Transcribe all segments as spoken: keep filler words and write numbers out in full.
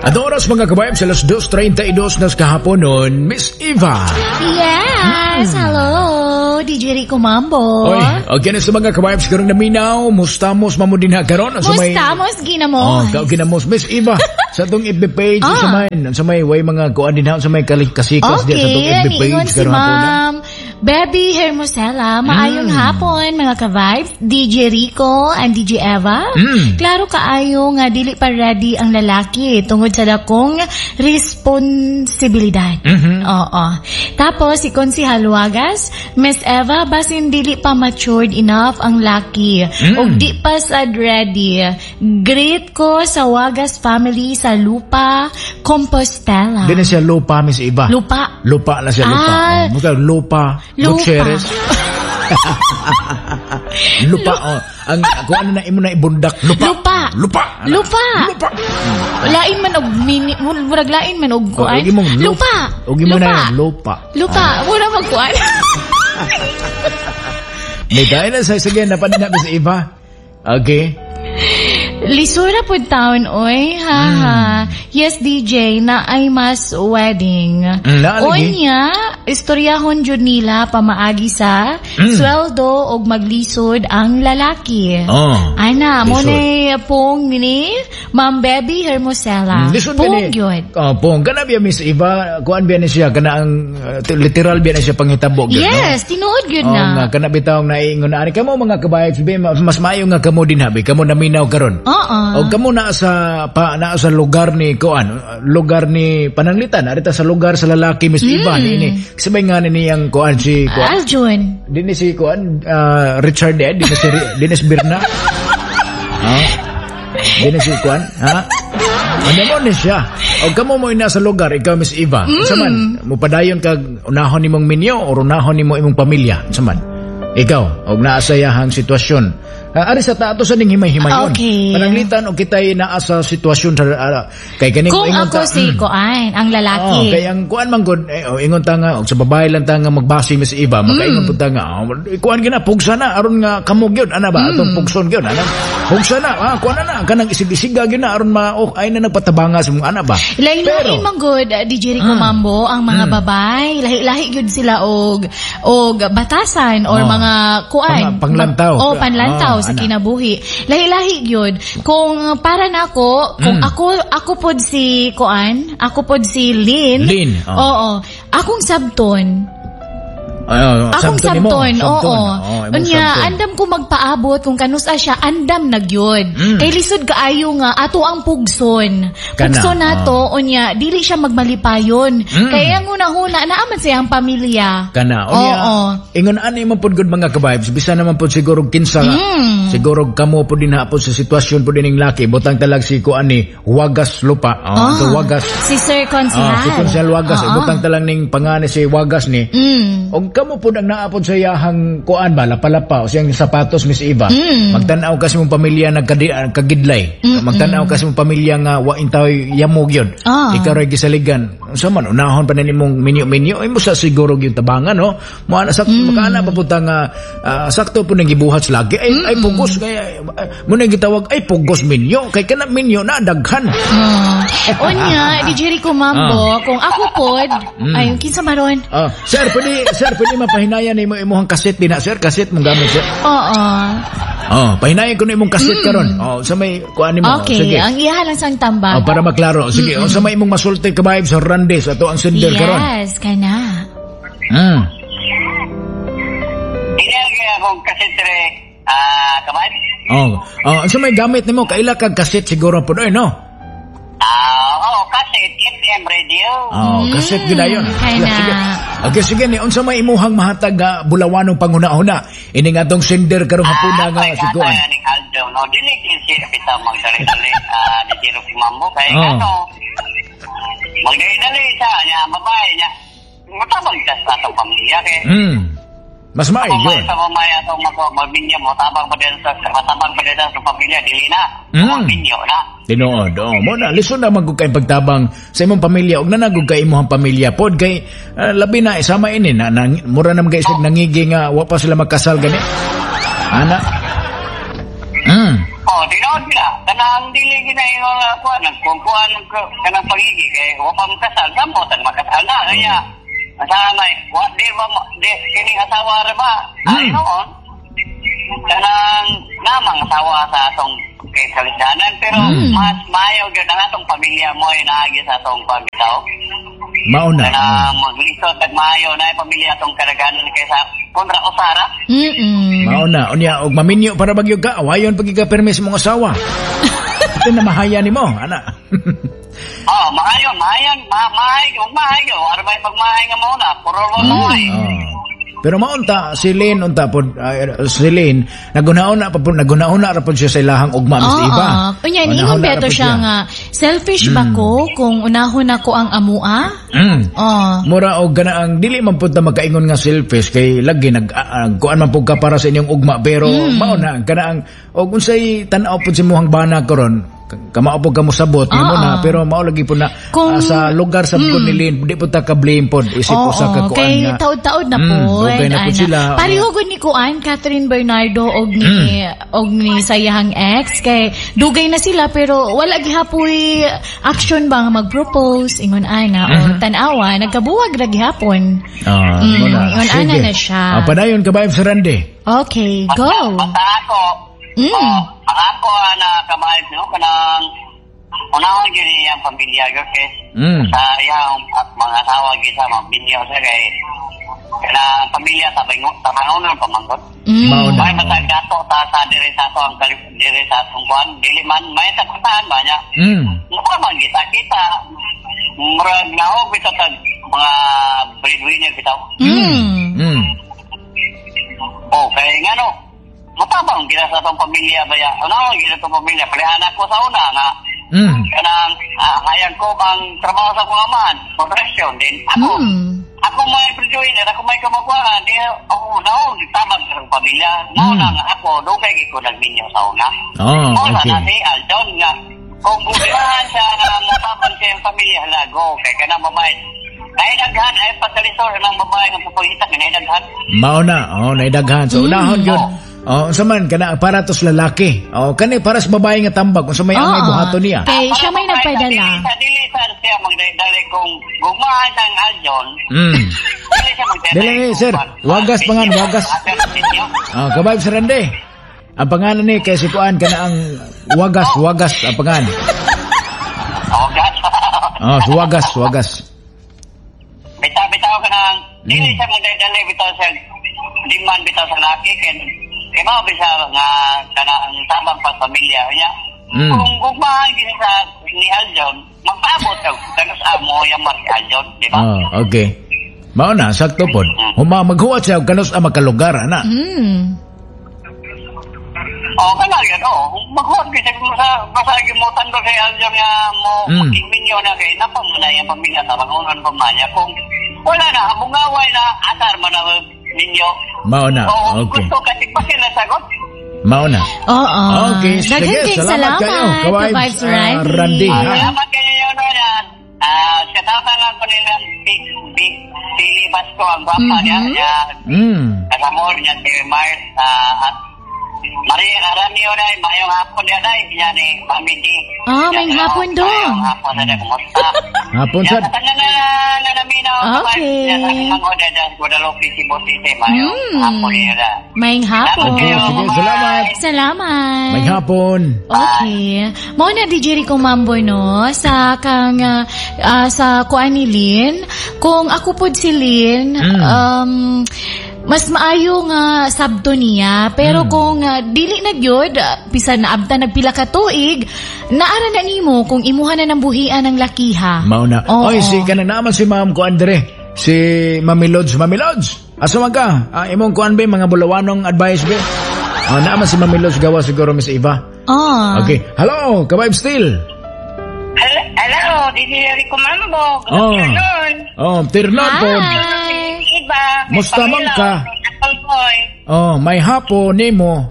At oras, mga kabayan, sa alas dos trenta y dos nas kahapon nun, Miss Eva. Yes! Hello! D J Rico Mambo. Oy, okay na sa mga kabayan, siguro naminaw, mustamos mamo din ha karon sa may Mustamos ginamos. Oh, kao ginamos, Miss Eva. Sa atong F B page, Ah. sa may sa may way mga kuan din ha, sa may kali- kasikas diya sa atong Okay, F B page niingon si karon hapon na. Ma'am Bebby Hermosela. Maayong Mm. hapon, mga ka-vibes, D J Rico and D J Eva. Mm. Klaro kaayo nga dili pa ready ang lalaki tungod sa dakong responsibilidad. Mhm. Oo. Tapos si Consi Halwagas, "Miss Eva, basin dili pa matured enough ang laki Mm. ug di pa sad ready. Greet ko sa Wagas family sa Lupa, Compostela." Di na siya lupa, Miss Eva. Lupa. Lupa na siya, lupa. Ah. Oh, muka lupa. Lupa. Gutierrez. Lupa, oh. Ang kung ano na imo na ibundak, lupa. Lupa. Lupa. Lupa. Lupa. Lain man og mini, murag lain man og Oh, kuan. ug imong lup- Lupa. Ug imo Lupa. na lupa. Lupa. Mura magkuan. May dahil na sa sige na pa din na, Miss Eva. Okay. Lisura pud taon oy. Ha ha. Yes, D J, na ay mass wedding. Mm, naa lagi. Unya, istoryahon jud nila pamaagi sa Mm. sweldo og maglisod ang lalaki. Oh. Ana, mo Lisod. na pong ni Ma'am Bebby Hermosela. Mm, lisod Pong ba ni? gyud. Oh, pong. Kana biya, Miss Eva, kuan biya ni siya kana ang uh, literal biya ni siya panghitabo gyud, no? Yes, tinuod gyud Oh, na. nga kana bitaw naingon na ani kamo, mga kabayan, sabi, mas maayo nga kamo din habi, kamo naminaw karon. Oo. O kamo naa sa pa naa sa lugar ni kuan, lugar ni pananglitan, arita sa lugar sa lalaki, Miss Eva, ni ni. Kasi may nga ni niyang kuan si kuan. Aljun. Dinhi si kuan ah, Richard eh, dinhi si dinhi si Birna. Ha? Dinhi si kuan, ha? Ano mo ni siya? O kamo mo ina sa lugar, ikaw, Miss Eva. Mm. Unsa man, mupadayon kag unahon nimong minyo o unahon nimo imong pamilya? Unsa man? Ikaw, og naa sa iyahang sitwasyon. Uh, ari sa tato sa ning himay-himayon. Okay. Pananglitan og kitay naa sa sitwasyon sa uh, kay kaning Kung ingon ako ta- si mm. Kuan, ang lalaki. Oh, kay ang kuan man gud eh, oh, ingon ta nga og sa babae lang ta nga magbase, Miss Eva, makaingon pud ta nga, oh, kuan gina pugsa na aron nga kamo gyud ana ba, atong pugson gyud ana. Pugsa na, ah, kuan na na kanang isig-isiga gyud na aron ma oh, ay na nagpatabanga sa mga ana ba. Lahi-lahi Pero- man gud, uh, D J Rico Mambo, ang mga babae, lahi-lahi gyud sila og og batasan or Oh. mga kuan. Pang- panglantaw. Oh, panlantaw Oh, sa ana. kinabuhi. Lahi-lahi gyud. Kung para nako, kung Mm. ako ako pod si kuan, ako pod si Lynn. Lynn, oh. Oo. Akong sabton. Ay, oh, Akong sabton nimo, sabton, oo. Oh, imong Unya, sabton. Andam ko magpaabot kung kanusa siya, andam na gyud. Mm. Kay lisod kaayo nga ato ang pugson. Kana, Pugson nato, unya dili siya magmalipayon. Mm. Kaya ang una-huna naa man siyang pamilya. Kana unya, Oo. ingon ani man pud gud, mga ka-vibes, bisan naman pud siguro kinsa, Mm. siguro kamo pud din hapon sa sitwasyon pud ning laki, butang talag si kuan ni Wagas Lupa, oh, Ah, ito Wagas. Si Sir Consihal. Ah, si Konsehal Wagas, Oo. butang talang ning pangani si Wagas ni. Mm. Og kamo pud ang naa pod sa iyahang kuan ba, lapalapa o siyang sapatos, Miss Eva. Mm. Magtan-aw ka sa imong pamilya nagkadi kagidlay. Magtan-aw ka sa imong pamilya nga wa intaw yamog yun. Ah. Ikaw ray gisaligan. Unsa man, unahon pa na nimong minyo-minyo imo sa siguro yung tabangan, no? Mo ana sak mm. makaana pa pud ta nga ah, sakto po nang gibuhat sa lagi. Ay ay pugos kay mo nang gitawag ay pugos minyo kay kana minyo na daghan. Ah. Unya, D J Rico Mambo, kung ako pod, Mm. ay, kinsa maron? Ah, sir, pwede sir, pwede mapahinayan nimo imong kaset din na, sir, kaset mong gamit, sir. Oo. Oh, pahinayan ko na imong kaset karon. Oh, sa may kuan nimo. Okay, Sige. ang iya lang sang tambag. Oh, para maklaro. Sige, mm sa may imong masulti ka sa Randes ato ang sender karon. Yes, kana. Mm. Hindi kaya akong kaset re, ah, kaman? Oh, oh, sa may gamit nimo kaila kag kaset siguro po, no? Ah, oo, kaset, F M radio. Oh, kaset gyud ayon. Kana. Sige. Okay, sige ni unsa may imuhang mahatag nga bulawanong panghuna-huna ining atong sender karong hapuna nga si kuan? Ay, ning Aldo, no, dili kin siya bitaw magdali-dali, ah, di tiro si Mambo, kay Oh. ano, magdali-dali sa niya, babae niya, matabang siya sa atong pamilya, kay, Mm. Mas maayo Mamaya yun. Sa mamaya atong mag- magminyo mo, tabang pa din sa, matabang pa din sa pamilya, dili na, Mm. magminyo na. Tinuod. Oh, mo na lisod na man gud kay pagtabang sa imong pamilya ug nanagog kay imong pamilya pod kay ah, labi na sama ini na, na mura na mga isig nangigi nga wa pa sila magkasal gani. Ana. Mm. Oh, tinuod gina. Kanang dili gina ingon nga kuan, nagkukuan kanang pagigi kay wa pa makasal, gamot ang makasal na kaya. Asa may wa di ba mo- di kining asawa ra ba? Ay Mm. noon. Kanang namang asawa sa atong kay kalisdanan pero Mm. mas maayo gyud ang atong pamilya mo ay naagi sa atong pamilya. Mao na. Kanang maglisod tag maayo na ay pamilya atong kadaghanan kaysa kontra usara. Mm-mm. Mao na. Unya og maminyo para bagyo ka, awayon pag ka permis mong asawa. Ito na mahaya nimo, ana. Oh, maayo, maayan, ma mahay, ug mahay, wala ba pagmahay nga mao na, puro mo mahay. Oh. Pero maunta si Lynn unta pod uh, si Lynn nagunauna pa pod nagunauna ra pod siya sa ilahang ugma Miss Oo. Iba. Unya, Oh, niingon nahuna ra beto pod siya nga, selfish ba ko kung unahon ako ang amua? Mm. Oh. Mura og ganaang dili man pud ta magkaingon nga selfish kay lagi nag uh, kuan man pud ka para sa inyong ugma pero Mm. mao na kanaang og unsay tan-aw pud sa imong bana karon kamao pud ka mosabot nimo Oo. na pero mao lagi pud na Kung- ah, sa lugar sa mm. ni Lynn di pud ta ka blame pod isip Oo, usa ka kuan kay nga taod-taod na Mm, po. dugay na pod sila. Pareho gud ni kuan Catherine Bernardo og ni Mm. og ni sayahang ex kay dugay na sila pero wala gihapoy action ba nga mag-propose ingon ana o tan-awa nagkabuwag ra gihapon. Ah, Mm, mo na. ingon ana Sige. na siya. Ah, padayon ka ba si Randy? Okay, go. Basta ako, Mm. oh, ang ako ana kamay no kanang unahon gyud niya ang pamilya gyud kay Mm. sa iyang at mga asawa gyud sa mga binyo sa kay kanang pamilya sa bango sa bangonon pamangkot. Mm. Mao na. May matag dato ta sa diri sa ato ang kalip diri sa atong kuan dili man may takutan ba niya. Mm. Mukha man kita kita murag nahog bitaw tag mga breadwinner bitaw. Mm. Mm. Oh, kay ngano matabang kita sa atong pamilya ba ya. Ano kita atong pamilya palihan ako sa una nga Mm. kanang ah, hayag ko ang trabaho sa akong amahan, production din. Ako, Mm. ako may breadwinner, ako may kamagwangan, di ako naog tabang sa akong pamilya. Mao Mm. na nga ako, dugay gyud ko nagminyo sa una. Oh, Mao na okay. na si Aldon nga kung gugmahan siya nga motabang siya ang pamilya halago kay kanang babae. Naidaghan ay pagkalisor ng babae nga pupulita kay naidaghan. Mao na, oh, naidaghan. So unahon Mm. gyud. Oh, unsa man kana para to sa lalaki. Oh, kani para sa babae nga tambag unsa may angay Oo. buhaton niya. Kay siya may Para nagpadala. Dili sa dili sa siya magdali kung gugmahan siya ang Aldon. Mm. Dili siya magdali. Dili, sir. Wagas pa nga, wagas. Oh, kabayb sa Rande. Ang pangalan ni kay si kuan kana ang wagas, wagas ang pangalan. Wagas. Oh, si wagas, wagas. Bitaw bitaw ka nang dili Mm. siya magdali bitaw sa demand bitaw sa laki kay kay mao bisa nga kana ang tabang pa sa pamilya niya. Mm. Kung gugmahan gini sa ni Aljon, magpaabot ka kanus amo yang si Aljon, di ba? Oh, okay. Mao na sakto pod. Huma maghuwat siya og kanus ang makalugar ana. Mm. Oh, kana gyud oh. Maghuwat gyud siya sa basta gyud mo tando kay Aljon nga mo Mm. magminyo na kay napa mo na iyang pamilya tabangonon pa man niya kung wala na mungaway na asar man ang ninyo. Mao na. Oo, Okay. gusto kasi pa sila sagot. Mao na. Oo. Okay, sige, Daghan kayong salamat salamat. kayo. Ka-vibes, Ka-vibes ah, Randy. Randy, ha? Salamat kayo yun na. Ah, shout lang ko nila Big Big Silly Basco ang gwapa niya. Niya Mm. kasamor niya si Mart ah, at Maria Aramio na mayong hapon niya dai niya ni Mami D. Ah, mayong hapon dong. Mayong hapon na kumusta? Hapon Niya sad. sa tanan na na naminaw. Okay. Niya sa akong order dyan Guadalupe Cebu City mayong Mm. hapon niya da. Mayong hapon. Okay, sige, salamat. Salamat. May hapon. Okay. Mao na D J Rico Mambo no sa kang ah, ah, sa kuan ni Lynn. Kung ako pod si Lynn, Mm. um mas maayo nga sabto niya pero Mm. kung ah, dili na gyud ah, bisan naabta nagpila ka tuig naara na nimo kung imuha na ng buhian ang lakiha. Mao na. Oo. Oy, si kana naman si Ma'am ko Andre. Si Mami Lods, Mami Lods. Asa man ka? Ah, imong kuan be mga bulawanong advice be. Ah, naman si Mami Lods gawa siguro Miss Eva. Ah. Okay. Hello, ka-vibe still. Hello, hello, D J Rico Mambo. Good Oh. afternoon. Oh, tirnon po. Hi. Iba. Musta man ka? Apple boy. Oh, may hapo nimo.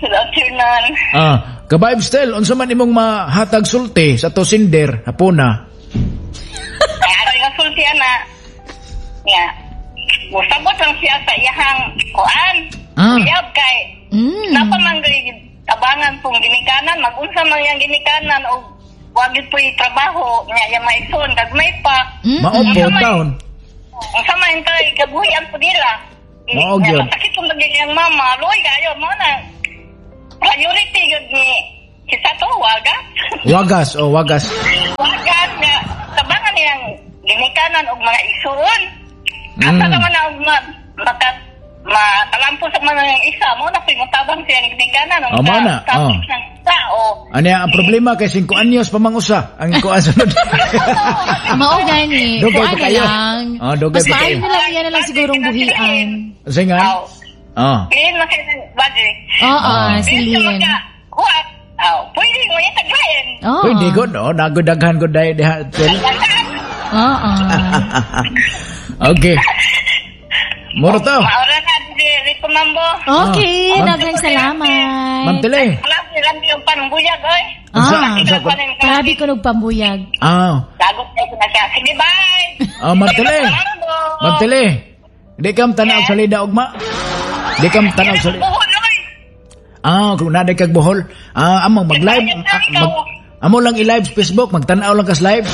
Good afternoon. Ah, ka-vibe still, unsa man imong mahatag sulti sa to sinder hapona? Ay, ano yung sulti, ana? Nga. Musabot lang siya sa iyahang kuan. Ah. Uyab kay Mm. Napa man gay tabangan pong ginikanan, magunsa man yang ginikanan og wa gyud po'y trabaho nya yang maigsoon gagmay pa. Mm. Mao po taon. Unsa man tay kabuhian po nila. Mao gyud. Masakit pong lagi iyang mama, luoy kayo mo na. Priority gyud ni kisa to wagas. Wagas oh wagas. Wagas nga tabangan niyang ginikanan og mga igsoon. Asa Mm. naman na og ma, maka makalampo sa man ang isa mo na po'y motabang siyang ginikanan Oh, mao na, oh. ng tao. Ano ang problema kay singko anyos pa mangusa ang kuan sunod. Mao gani. Dugay Kuan pa na kayo. lang. Oh, dugay Mas pa maayo kayo. na lang yan na lang sigurong buhian. Sige nga. Aw. Oh. Ngayon man kayo ng budget. Oo, Ah. si Ngayon Lynn. ka huwat. Aw, pwede mo yung taglayin. Oo. Pwede gud oh, nagudaghan gud dai diha. Tel. Oo. Okay. Moro to. Maura na, di Rico Mambo. Okay, Ah. daghang salamat. Ma'am Tele. Lambi, lambi yung panungbuyag, oy. Unsa Ah. unsa ko? Grabe ko nagpambuyag. Ah, Dagot na ko na siya. Sige, bye! ah Ma'am Tele. Ma'am Tele. Di kam tanaw sa lida ugma. Di kam tanaw sa lida. Buhol, oy. Ah, kung naday kag Bohol. Ah, among mag-live ah, mag, amo lang i-live sa Facebook, magtan-aw lang kas live.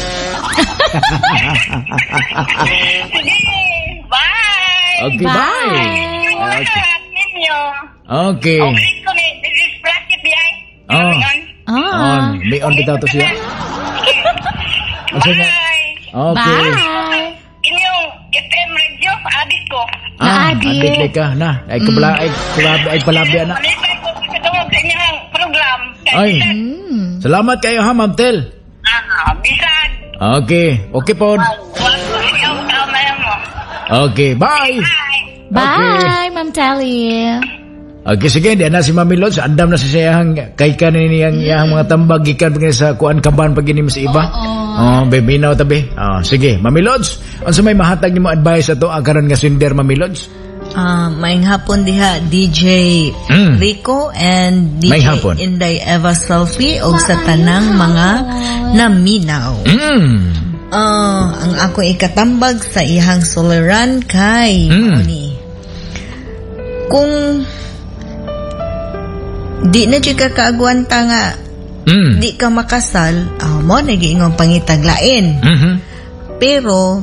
Sige, bye! Okay, bye. Bye. Okay. Ninyo. Okay. Okay ko ni, this is Bracket, biyay. Oh. Ah. On, may on bitaw to siya. Unsa nga? Bye! Okay. Bye. Inyong F M radio, adik ko. Ah, Naadik. adik ka na. Ay kabla ay kulabi ay palabi ana. Malipay ko katungod sa inyong program. Kay Ay. bisag- Mm. Salamat kayo ha, Ma'am Tel. Ah, bisag. Okay. Okay pod. Wag ko siyang tao na yan mo. Okay, bye. Bye! Bye, Ma'am Telly. Okay, sige, di na si Mami Lods. Andam na si siyang kay kanin niyang iyang mga tambag gikan pag sa kuan kaban pag ini sa iba. Oh, bebinaw tabi. Oh, sige, Mami Lods, unsa may mahatag nimo advice ato ang karon nga sender, Mami Lods? Ah, maayong hapon diha D J Mm. Rico and D J Maayong hapon. Inday Eva Selfie og sa tanang mga naminaw. Mm. Ah, ang ako ikatambag sa iyang suliran kay Mm. mao ni. Kung di na jud ka kaagwanta nga Mm. di ka makasal, ah, mo na giingong pangitag lain. Mhm. Pero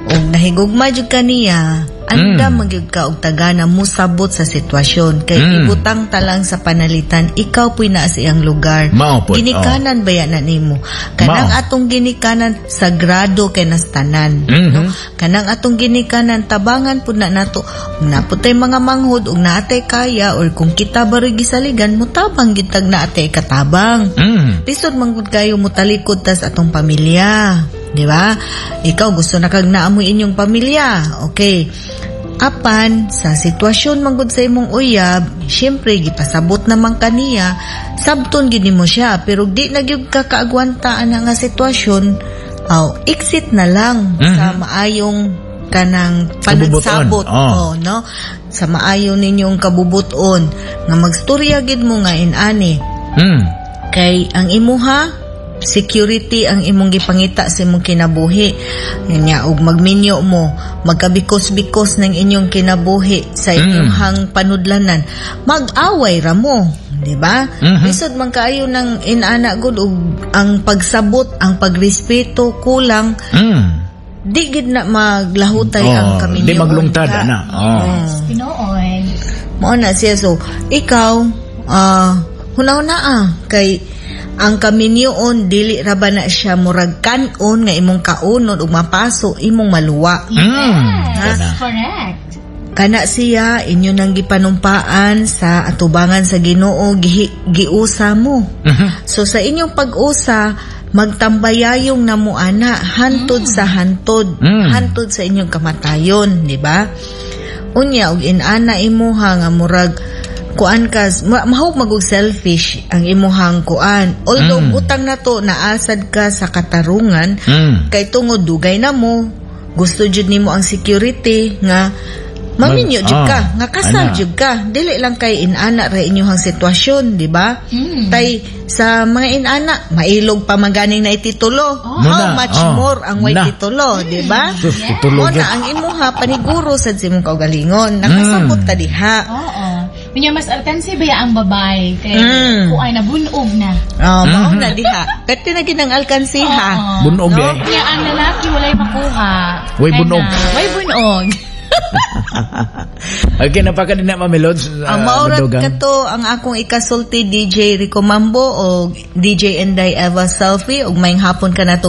og nahigugma jud ka niya, andam Mm. man gyud ka og tagana musabot sa sitwasyon kay Mm. ibutang talang sa panalitan, ikaw puy naa sa iyang lugar. Mao pod, Ginikanan baya na nimo? Kanang Mao. atong ginikanan sagrado kay nas tanan. Mhm. No? Kanang atong ginikanan tabangan pud na nato. Ug naa pud tay mga manghod ug naatay kaya or kung kita baroy gisaligan mutabang gid tag naatay katabang. Mm. Lisod man gud kayo mutalikod tas atong pamilya. Di ba? Ikaw gusto na kag naamoy inyong pamilya. Okay. Apan sa sitwasyon man gud sa imong uyab, syempre gipasabot naman kaniya, sabton gid nimo siya, pero di na gyud ka kaagwanta ana nga sitwasyon, aw exit na lang Mhm. sa maayong kanang Kabubuton. panagsabot. Oh. Oh, no? Sa maayo ninyong kabubuton nga magstorya gid mo nga inani Mm. kay ang imuha security ang imong gipangita sa imong kinabuhi nya ug magminyo mo magkabikos-bikos ng inyong kinabuhi sa Mm. inyong panudlanan, mag-away ra mo, di ba? Mhm. Lisod man kaayo ng inana gud ug ang pagsabot, ang pagrespeto kulang, Mm. di gid na maglahutay Oh, ang kaminyo. di maglungtad ana. Oh. Yes, tinuod. Mao na siya. So, ikaw, ah, hunahuna ah, kay ang kaminyoon dili ra ba na siya murag kanon nga imong kaunon ug mapaso imong maluwa. Mm. Yes, Kana. correct. Kana siya inyo nang gipanumpaan sa atubangan sa Ginoo, gihi, giusa mo. Mhm. So sa inyong pag-usa, magtambayayong namuana hantod sa hantod, Mm. hantod sa inyong kamatayon, di ba? Unya og inana imuha nga murag kuan ka ma- mahog magug selfish ang imuhang kuan. Although Mm. butang na to naasad ka sa katarungan Mm. kay tungod dugay na mo, gusto jud nimo ang security nga maminyo Mag- jud ka, ah, nga kasal ana. jud ka, dili lang kay inana ra inyong sitwasyon, di ba? Mm. Tay sa mga inana mailog pa maganing na ititulo, how Muna, much oh. more ang way Na. titulo, di ba? Sus, titulo Mo jud. na ang imuha paniguro sad sa imong kaugalingon, nakasabot ta diha. Oo. Unya mas alkansi ba ya ang babae kay Mm. kuan na bunog na. Oh, mao na diha. Pwede na ginang alkansiha. Oo. Bunog No? di ay. Unya ang lalaki walay makuha. Way Kaya bunog. na, Way bunog. Okay, napaka din na Mami Lods. Uh, Ang maorat Madugang. kato ang akong ikasulti D J Rico Mambo o D J Inday Eva Selfie ug maayong hapon kanatong.